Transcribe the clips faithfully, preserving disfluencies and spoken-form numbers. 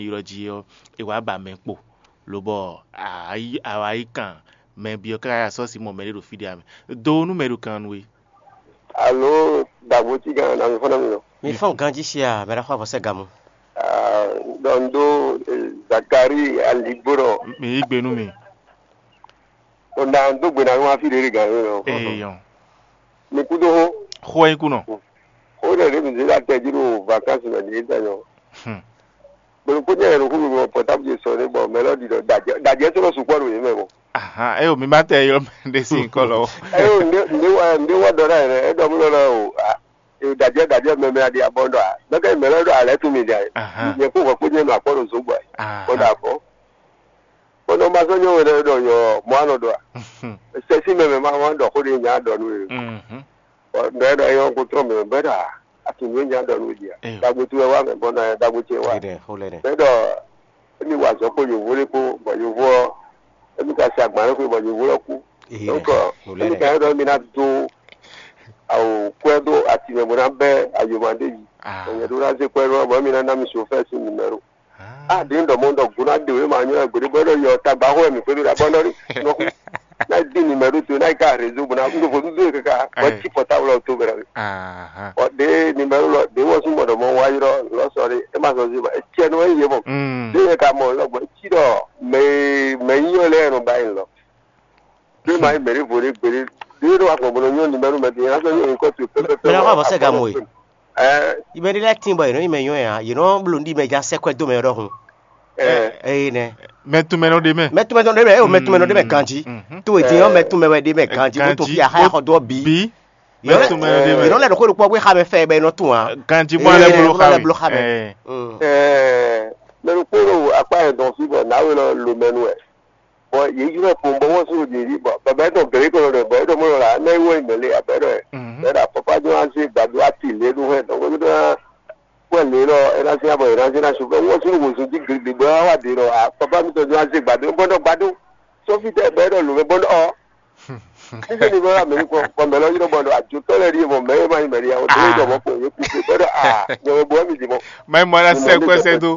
ylɔ́ jí ɔ́, è wǎ ba mɛ kpo, lobɔ a wá yí kan mɛ byɔ́ káká sɔ́ si mɔ mɛɖé ɖo fí ɖé ǎ mɛ. Do nú mɛ ɖo kan nú we. Alo, dagbo cí gán nami fɔ́n nami nɔ. Mi fɔ́n ganjí sia mɛ ɖaxó avɔsɛ́ gamu. Ɖɔ n ɖó Zakari aligbó ɖɔ. Mi yí gbe nú mi. Ɔ na n dó gbe na nú afi ɖé ɖé gǎn yó nɔ. Eyɔn. Mi kúdó xó. Xó ɛ kú nɔ. Xó ɖé ɖé mi zé ɖo atɛ jí ɖo vakansi mɛ ɖě tɛ nyɔ. Hmm. Gbolo kó nyɛ yɛ ɖo xúlu mɔ pɔtábu ce sɔ ɖé bɔ mɛ lɔ ɖi ɖɔ dajɛ dajɛ sɔ́ nɔ sukpɔ ɖo yě mɛ mɔ. Ahan, eyo mi ma tɛ yɔ mɛ ɖe si nkɔ lɔ. Eyo nde nde wa nde wa ɖɔ ɖa yɛ ɛ ɖɔ mú lɔ lɔ o a e dajɛ dajɛ mɛ mɛ aɖi abɔ ɖɔ a mɛ kɛ mɛ lɔ ɖɔ alɛ tún mi ɖi a Ahan. Nyɛ kó vɔ kó nyɛ nɔ akpɔ ɖo zó gbɔ a Ahan. Bɔ ɖo afɔ. Bɔ nɔ ma sɔ́ nyɔ wɛ ɖɔ yɔ mɔ anɔ ɖɔ a sɛsi mɛ mɛ ma ma ɖɔ xó ɖe nya ɖɔ nú e. Mhm. Bɔ ɖɔ ɛ ɖɔ yɔ ko trɔ mɛ bɛ ɖɔ a atuntu nya ɖɔ nú e ɖi a Eyo. Dagbo tu wɛ wa mɛ bɔ nɔ dagbo ce wa. Xo lɛ nɛ, xo lɛ nɛ. Bɛ ɖɔ emi wa azɔ̌ kpo yovo ɖé kpo bɔ yovo ɔ́ emi ka se agban ɖé xwe bɔ yovo lɔ kú. Ehe Donc nɛ, xo lɛ emi nɛ. Ka ɖɔ emi ná dó awo kwɛ dó ati mɛ bó ná bɛ́ ayoma ɖé yi. Ah. Nyɛ ɖó ná zé kwɛ ɖó bɔ emi ná ná mi sofɛ́ sín numɛro. Ah. A ɖě un ɖɔ mɔ un ɖɔ gǔ ná ɖe wě ma nyɔ́ wɛ gbeɖé bɔ é ɖɔ yɔ tagba xo wɛ mǐ xwedó ɖa bɔ nɔ rí nɔ xú ná yi dín numɛro towe ná yi ká réseau bó ná un ɖo vodún dó e káká bɔ é cí pɔtáblu ɔ́ tó bɛ́ ná. Ahan. Bɔ ɖě numɛro lɔ ɖě wɔ sún mɔ ɖɔ mɔ wá yrɔ lɔ sɔ ɖé é ma zɔ zé bɔ é tiɛ nɔ é yé mɔ. Mm. Ɖé yɛ ka mɔ lɔ gbɔ é cí ɖɔ mɛ mɛ nyínyɔ lɛ́ɛ nɔ ba yi lɔ. Ɖé ma yi mɛ ɖé vo ɖé gbeɖé ɖé ɖo wa gbɔn bɔ nɔ nyɔ numɛro mɛ din ná sɔ nyɔ nyikɔ towe pɛpɛpɛ. Mɛ ná xɔ avɔ sɛ ga mo e. Ɛ Yi mɛ ɖé lɛ́ɛ tín bɔ yě nɔ nyi mɛ nyɔ́ ɛ ǎ, yɛ nɔ bló nɖi mɛ ja sɛ́ kwɛ́ dó mɛ ɔ́ ɖɔhun. Ɛ Eye nɛ. Mɛ tunmɛ nɔ ɖe mɛ. Mɛ tunmɛ nɔ ɖe mɛ, eye o mɛ tunmɛ nɔ ɖe mɛ ganjí. Mhm. Tó e din ɔ́, mɛ tunmɛ wɛ ɖe mɛ ganjí, bó to Ganjí, fi axa bó- xɔ dó ɔ́ bǐ. Mɛ tunmɛ nɔ ɖe mɛ. Yě nɔ lɛ ɖo xó ɖokpó bó xa mɛ fɛ bɛ nɔ tún ǎ. Ganjí bó alɛ Eye, bló bó xa alɛ mɛ. Bló xa mɛ. Ɛ. Mm. Ɛɛ, mɛ ɖokpó ɖo akpá yɛ dɔn fí bɔ nǎwe lɔ lo mɛ nu wɛ. Bɔ yě ylɔ́ kpowun bɔ wɔ sún ɖě ví bɔ bɛbɛ tɔn gělé kɔ lɔ bɔ é ɖɔ mɔ lɔ la ná yi wɔ yi mɛ lé abɛ ɖɔ ɛ. Mhm. Bɛ ɖɔ pɔpá jɔ wá zé gbadó ati lě ɖó hɛ dɔn gbɛdó ná kpɔ lě lɔ é ná zé abɔ é ná zé ná su bɛ wɔ sún wòzun jí gligli bɔ é wá wá ɖě lɔ a pɔpá mi tɔn jɔ wá zé gbadó bɔ ɖɔ gbadó sɔfí tɛ bɛ ɖɔ lǒ mɛ bɔ ɖɔ ɔ. Níṣẹ́ ni bọ́lá mi kọ́ kọ́ mẹ́lọ́ yíró bọ́ọ̀lù àjòtọ́ lẹ́rí mọ̀ mẹ́rin máa ń mẹ́rin àwọn tó ń jọ mọ́ pé òye kúkú bẹ́ẹ̀ à yẹ̀wò bọ́ mi dì mọ́. Mɛ mɔ na sɛ kɔ sɛ do.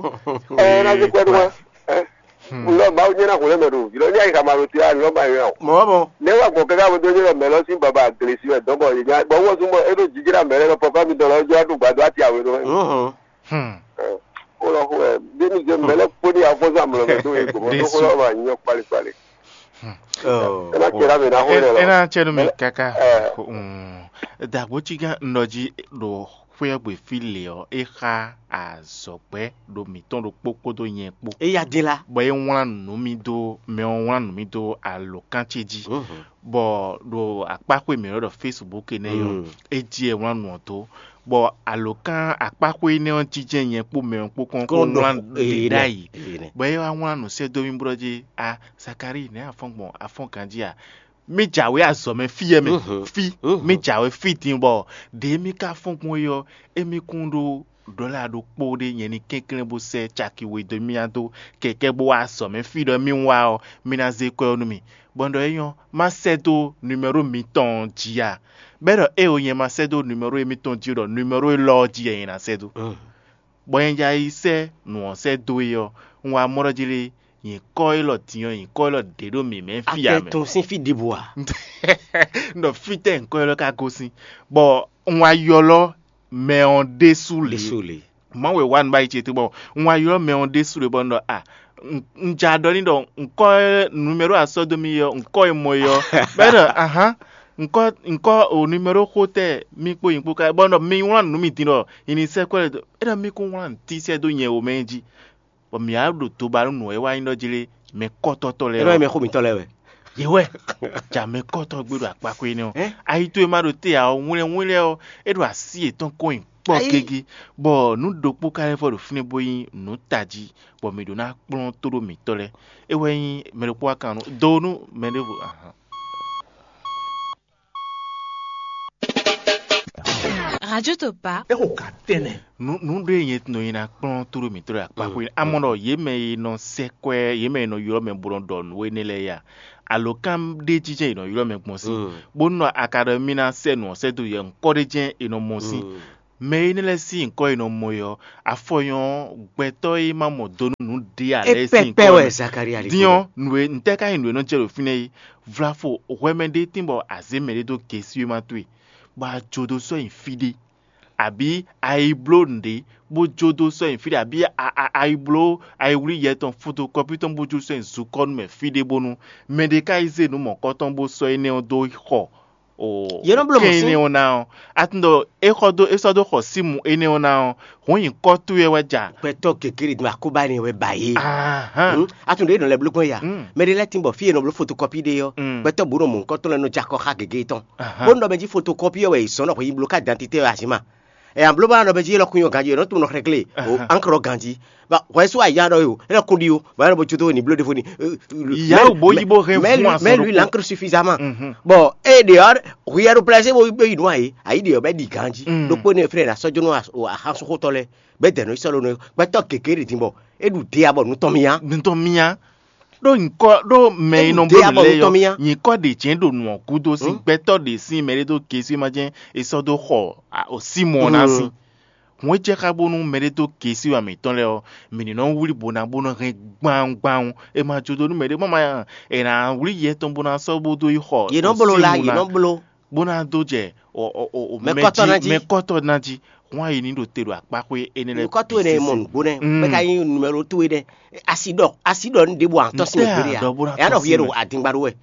Ɛ ɛ na se kpɛdó wa. Ɛ ŋlɔ maawu nyɛ na xulɛ mɛ do yìlɔ ní ayika ma do ti a lɔ ma yɔ. Mɔ mɔ. Ne wa gbɔ kɛkɛ abo do nyɛ mɛ lɔ sin baba glesi wɛ dɔn bɔ yìnyá bɔ wɔ sun bɔ eɖo jijira mɛ lɛ lɔ papa mi dɔn lɔ jɔ adu gbado ati awe do. Ɛ o lɔ xo ɛ bí mi jɛ mɛ lɛ kpó ní afɔsɔ amlɔ mɛ do ye gbɔmɔ do xo lɔ ma nyɔ kpali kpali. Ena kpera mɛ na xo lɛ lɔ. Ena tsɛ nu mi kaka. Dagbo tsi gã ŋɖɔ dzi ɖo xwé ɔ́ gbe fí lě ɔ́, é xá azɔ̌gbɛ́ ɖo mǐtɔn ɖokpó kpódó nyɛ kpó. Éya dín lá. Bɔ é wlán nǔ mì dó mɛ ɔ́ wlán nǔ mì dó alǒkan ce jí. Bɔ ɖo akpáxwé mǐ ɖɔ Facebook énɛ́ ɔ́, é jí é wlán nǔ ɔ́ dó. Bɔ alǒkan akpáxwé énɛ́ ɔ́ jínjɛ́n nyɛ kpó mɛ ɔ́ kpó kɔn kó wlán ɖě ɖ'ayǐ. Bɔ é wá wlán nǔ sɛ́ dó mì bó ɖɔ jí a Zakalíi, nɛ̌ a fɔ́n gbɔn? A fɔ́n ganjí a? Mì jǎwe azɔ̌ mɛ fí yɛ mɛ fí mì jǎwe fí din bɔ ɖě mì ka fɔ́n gbɔn é ɔ́, émí kún ɖó ɖɔ̌la ɖokpó ɖé nyɛ ní kɛnklɛ́n bó sɛ́ caki we dó mì dó kɛkɛ́ bó wá azɔ̌ mɛ fí ɖɔ mì wá ɔ́, mì ná zé kwɛ́ ɔ́ nú mì. Bɔ un ɖɔ é nyɔ́, má sɛ́ dó numɛ́ro mitɔn ɔ́ jí a? Bɔ é ɖɔ éeǒ, nyɛ ma sɛ́ dó numɛ́ro émítɔn jí ó, ɖɔ numɛ́ro élɔ́ ɔ́ jí wɛ nyɛ ná sɛ́ dó. Bɔ nyɛ ja yi sɛ́ nǔ ɔ́ sɛ́ dó e ɔ́, un wá mɔ ɖɔ jí lé, nyǐkɔ élɔ́ din ɔ́, nyǐkɔ élɔ́ ɖě ɖo mǐmɛ́ fí ǎ mɛ. Tɔn sín fí ɖěbǔ ǎ. Un ɖɔ fítɛ́ nyǐkɔ élɔ́ ka gosín, bɔ un wá ylɔ́ mɛ ɔ́ ɖésú lě. Ɖésú lě. Mawu e wá nǔ báyìí ce tó bɔ un wá ylɔ́ mɛ ɔ́ ɖésú lě bɔ un ɖɔ a un ja ɖɔ n'i ɖɔ ŋkɔ e numero asɔ́ dó mì ɔ́, ŋkɔ e mɔ é ɔ́, bɔ é ɖɔ ahán, ŋkɔ ŋkɔ o numero xó tɛ mì kpó nyi kpó ká bɔ un ɖɔ mi wlán nǔ mi din ɖɔ nyi ní sɛ́ kwɛ́ lɛ́ɛ dó, é ɖɔ mi kún wlán nǔ tísɛ́ dó nyɛ wǒ mɛ jí, bɔ mǐ wá ɖo toba nú nǔ e wá nyí ɖɔ jí lé, mɛ kɔ́tɔ́tɔ́ lɛ́ɛ. É nɔ nyí mɛ xó mǐtɔn lɛ́ɛ wɛ. Yě wɛ, ja mɛ kɔ́tɔ́ gbé ɖo akpákó énɛ́ ɔ́. Ayi towe ma ɖo te ǎ ɔ́, wlɛ́nwlɛ́n ɔ́, é ɖo así yětɔn kɔn nyi kpɔ́ gégé, bɔ nǔ ɖokpó ka lɛ́ vɔ ɖo fínɛ́ bó nyí nǔ tají, bɔ mǐ ɖó ná kplɔ́n tóɖó mǐtɔn lɛ́ɛ. É wɛ nyí mɛ ɖokpó wá kan nú do nú mɛ ɖěvo. Ahan. Radio Topa. Exo ka tɛnɛ. Nǔ nǔ ɖé nyɛ nɔ nyi ná kplɔ́n tóɖó mǐtɔn ɖo akpákó. Amɔ ɖɔ yě mɛ e nɔ sɛ́ kwɛ́, yě mɛ e nɔ ylɔ́ mɛ bó nɔ ɖɔ nǔ énɛ́ lɛ́ɛ ya. Alǒkan ɖé jínjɛ́n è nɔ ylɔ́ mɛ gbɔn sín, bónú a ka ɖɔ mì ná sɛ́ nǔ ɔ́ sɛ́ dó yɛ ŋkɔ́ ɖé jɛ́n è nɔ mɔ sín. Mɛ énɛ́ lɛ́ɛ sín nyǐkɔ e nɔ mɔ é ɔ́, afɔ nyɔ́ gbɛtɔ́ e ma mɔ do nú nǔ ɖé ǎ lɛ́ɛ sín nyǐkɔ mɛ. Din ɔ́, nǔ e ntɛ́ ka nyí nǔ e nɔ jɛ ɖo fínɛ́ é? Vlafo hwɛ mɛ ɖé tín bɔ a zě mɛɖé dó gesí e ma towe, bɔ a jó dó sɔ́ nyi fí ɖé, abǐ a yi bló nǔɖé bó jó dó sɔ́ nyi fí ɖé, abǐ a yi bló a yi wlí yɛ tɔn fotokɔ́pi tɔn bó jó sɔ́ nyi zukɔ́nu mɛ fí ɖé bónú mɛɖé ka yi zé nǔ mɔ̌kɔ́tɔn bó sɔ́ énɛ́ ɔ́ dó xɔ Yě nɔ bló mɔ̌ kɛ́n sín. Énɛ́ ɔ́ ná ɔ́, a tunɔ é xɔ dó é sɔ́ dó xɔ símu énɛ́ ɔ́ ná ɔ́, hǔn nyǐkɔ towe wɛ ja. Gbɛtɔ́ gěgé ɖe din akóbá énɛ́ wɛ ba yě. Ahán. Hmm? A tunɔ ɖě nɔ lɛ́ bló gbɔn ya. Hmm. Mɛ ɖé lɛ́ɛ tín bɔ fí e nɔ bló fotokɔ́pi ɖe ɔ́, Hmm. gbɛtɔ́ bǔ nɔ mɔ nǔkɔntɔn lɛ́ɛ nɔ jɛ akɔ xá gěgé tɔn. Ahán. Bónú ɖɔ mɛ jí fotokɔ́pi ɔ́ wɛ è sɔ́ nɔ xweyǐbló ká dantitɛ ɔ́ azǐma. Ɛ an bló ba nɔ mɛ jí élɔ́ kún nyɔ ganjí, è nɔ tunɔ xlɛ́glé o Ahán. Ankɔ ganjí. Ba hwɛ sú ayá ɖɔ yo, élɔ́ kún ɖi o, ba élɔ́ bo jó tó ní bló ɖěvo ní. Yá o bó yí bó hɛn fún azɔn ɖokpó. Mɛ lui l'ankr suffisamment. Mhm. Bon, e ɖe ɔ́, hwi ya ɖo plaisé bo yi nú ayi, ayi ɖe ɔ́ bɛ ɖi ganjí. Mm. Ɖokpó ne fɛnɛ na sɔ́ jó nú axánsúnxótɔ́ lɛ́ɛ, bɛ dɛ nɔ yi sɔ́ ɖo nú gbɛtɔ́ gěgé ɖe din bɔ é ɖu ɖe ya bɔ nú tɔn mì á. Nutɔn mì á. Ɖó nyǐkɔ ɖó mɛ e nɔ bló nǔ lɛ́ɛ ɔ́, nyǐkɔ ɖě jɛ́n ɖo nǔ ɔ́ gúdo sín gbɛtɔ́ ɖě sín mɛ ɖé dó gesí ma jɛ́n è sɔ́ dó xɔ Simɔ́ɔ ná sín. Hǔn é jɛ xá bónú mɛ ɖé dó gesí wa mǐtɔn lɛ́ɛ ɔ́, mǐ ní nɔ wlí bó ná bó nɔ hɛn gbawun gbawun. È ma jó dó nú mɛ ɖé mɔ ma è nǎ wlí yɛ tɔn bó ná sɔ́ bó dó yi xɔ Yě nɔ bló la, yě nɔ bló. Bó ná dó jɛ Mɛkɔ́tɔ́ ná jí. Mɛkɔ́tɔ́ ná jí. Hǔn ayi ní ɖo te ɖo akpáxwé énɛ́ lɛ́ɛ. Nukɔ́ towe nɛ́ mɔ nǔgbó nɛ́, bɔ é ka nyí numɛlo towe nɛ́. Asi ɖɔ asi ɖɔ nǔ ɖěbǔ a tɔ́ sín wěgbélé a. Ɛ á ɖɔ hwi e ɖo adingba ɖó wɛ.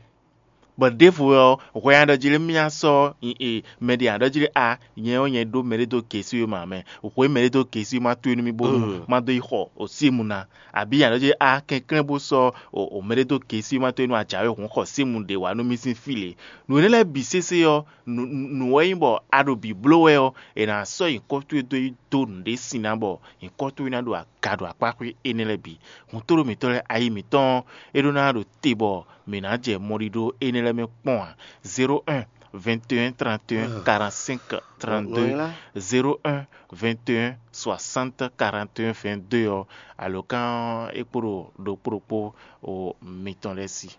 Bɔ ɖěvo ɔ́, hwɛ nya ɖɔ jí lé mì ná sɔ́ mɛ ɖě nya ɖɔ jí lé a, nyɛ ɔ́ nyɛ ɖó mɛɖé dó gesí we ma mɛ. Hwe mɛɖé dó gesí ma towe nú mì bónú má dó yi xɔ osímu ná. Abǐ nya ɖɔ jí lé a kɛnklɛ́n bó sɔ́ o mɛɖé dó gesí ma towe nú a jǎwe hǔn xɔ símu ɖě wá nú mì sín fí lě. Nǔ énɛ́ lɛ́ɛ bǐ sésé ɔ́, nǔ wɛ nyí bɔ a ɖo bǐ bló wɛ ɔ́, è nǎ sɔ́ nyǐkɔ towe dó yi dó nǔɖé sin ná bɔ nyǐkɔ towe ná ɖo aga ɖo akpá xwé énɛ́ lɛ́ɛ bǐ. Hǔntoro mǐtɔn lɛ́ɛ ayi mǐtɔn ɔ́, é ɖó ná ɖo te bɔ mǐ ná jɛ mɔɖiɖó énɛ́ lɛ́ɛ mɛ kpɔ́n ǎ. Zéro un, vingt et un, trente et un, quarante-cinq, trente-deux, zéro un, vingt et un, soixante, quarante et un, vingt-deux ɔ́, alǒkan ɔ́ é kpo ɖo ɖokpó ɖokpó o mitɔn lɛ́ɛ sí.